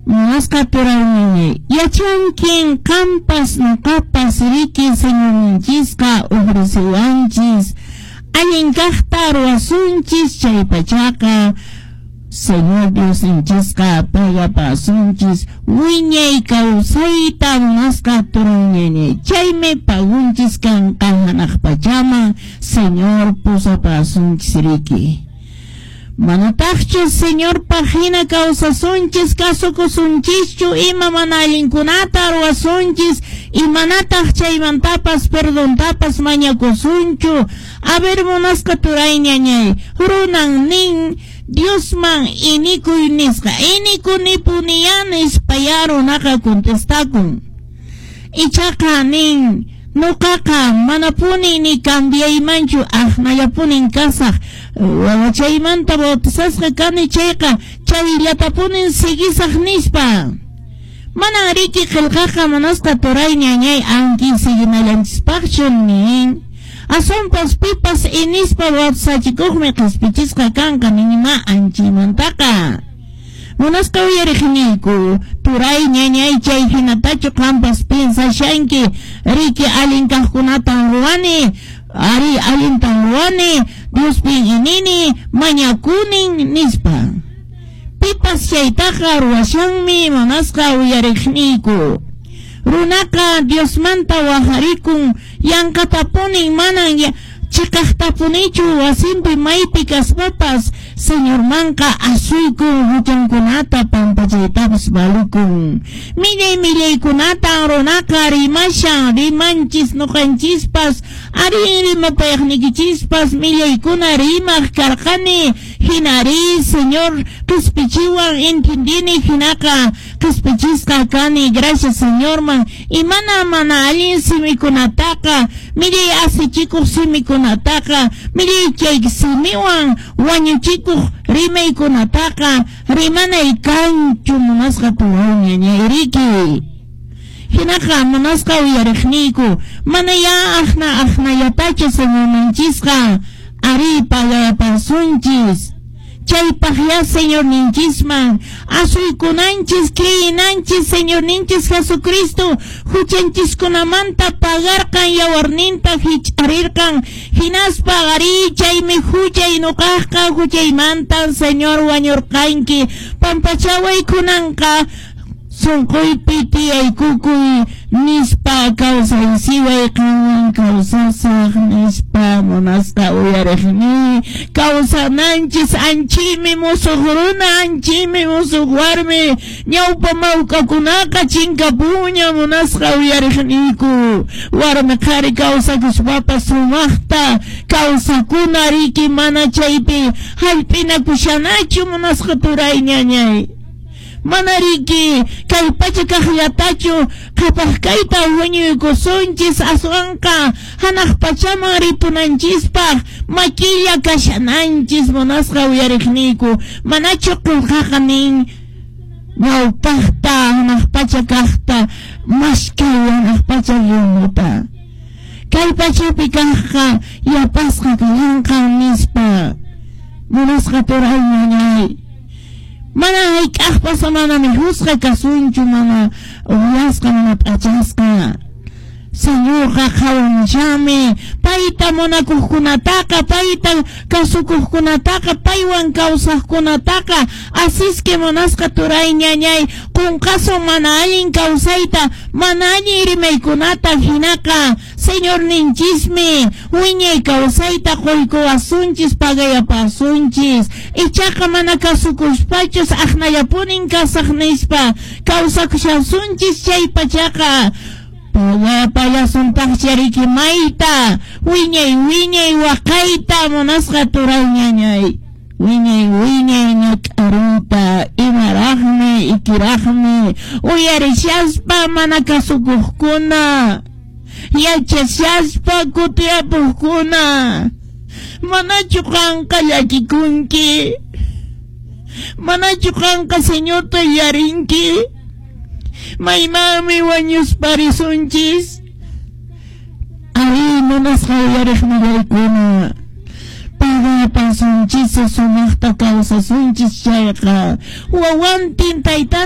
Munasqa turayñañay, yachankin qampas noqapas riki Señorninchisqa ofrecewanchis allin kaqta ruwasunchis chaypachaqa Señor Diosninchisqa pagapasunchis wiñay kawsayta munasqa turayñañay, chaymi pagunchis kanqa hanaq pachaman Señor pusapasunchis riki. Manataqchu Señorpaq hina kawsasunchis, kasukusunchischu ima mana allinkunata ruwasunchis, imanataq chaymantapas perdontapas mañakusunchu. A ver, munasqa turayñañay, runan nin Diosman inikuy nisqa, inikunipuniya nispayá runaqa contestakun. Ichaqa nin, Noqaqa manapuni ni cambiaymanchu, aqnallapunin kasaq. Wawachaymanta bautizasqa kani chayqa, chayllatapunin siguisaq nispa. Manan riki qelqaqa munasqa turay ñañay anki siguinallanchispaqchu nin. Aswanpas pipas inispa bautizachikuqmi qespichisqa kanqa ninma anchaymantaqa. Munasqa uyariqniyku, turay ñañay chay hinatachu qampas piensashanki, riki allin kaqkunatan ruwani, ari allintan ruwani, Diospin inini, mañakunin nispa. Pipas chaytaqa ruwashanmi munasqa uyariqniyku. Runaqa Diosmanta wajarikun yanqatapunin manan chiqaqtapunichu wasinpi maypi kaspapas Señormanqa asuykun huchankunata pampachaytapas valikun. Millay millaykunatan runaqa rimashan, rimanchis noqanchispas, arin rimapayaqnikichispas millaykuna rimaq karqani, hinari Señor qispichiwan entendini hinaqa qispichisqa kani, gracias Señorman, imana mana allin simikunataqa, millay asichikuq simikunataqa, millay chay simiwan wañuchikuq rimaykunataqa rimanay kanchu munasqa turay riki. Hinaqa munasqa uyariqniyku, mana ya aqna aqnallatachu Señorninchisqa ari pagayapasunchis. Chaypaq ya Señorninchisman asuykunanchis creyinanchis Señorninchis Jesucristo huchanchiskunamanta pagarqan yawarninta hich'arirqan hinaspa ari chaymi huchay nuqaqqa huchaymantan Señor wañurqanki pampachaway kunanqa sunquypi tiyaykukuy nispa kawsaysiway qanwan kawsasaq nispa munasqa uyariqni kawsananchis anchimi musuq runa anchimi musuq warmi ñawpa mawk'akunaqa chinkapuña munasqa uyariqniyku warmi qhari kawsakuspapas sumaqta kawsakuna riki mana chaypi hallp'inakushanachu munasqa turay ñañay. Mana riki kay pacha kaqllatachu qhapaq kayta huñuykusunchis aswanqa hanaq pachaman ripunanchispaq makilla kashananchis munasqa uyariqniyku manachu qillqaqa nin ñawpaqta hanaq pacha kaqta maskay hanaq pacha rimuta kay pachapi kaqqa yapasqa kallanqa nispa munasqa turay ñañay. Mana hayk'aqpas mana mikhusqa kasunchu, mana uhyasqa, mana p'achasqa. Señorqa qhawamushanmi payta munakuqkunataqa, payta kasukuqkunataqa, paywan kawsaqkunataqa. Asisque munasqa turay ñañay, qunqasun mana allin kawsayta, mana allin rimaykunata hinaqa Señorninchismi wiñay kawsayta quykuwasunchis, pagayapasunchis. Ichaqa mana kasukuspachus aqnallapunin kasaq nispa kawsakushasunchis chay pachaqa pagayapallasuntaqcha riki mayta wiñay wiñay waqayta munasqa turay ñañay. Wiñay wiñay ñak'ariyta imaraqmi ikiraqmi uyarishaspa mana kasukuqkuna yachashaspa kutiyapuqkuna manachu qanqa llakikunki manachu qanqa Señorta yarinki maymanmi wañusparisunchis ari munasqa uyariqnillaykuna pagapasunchis sumaqta kawsasunchis chayqa wawantin taytan.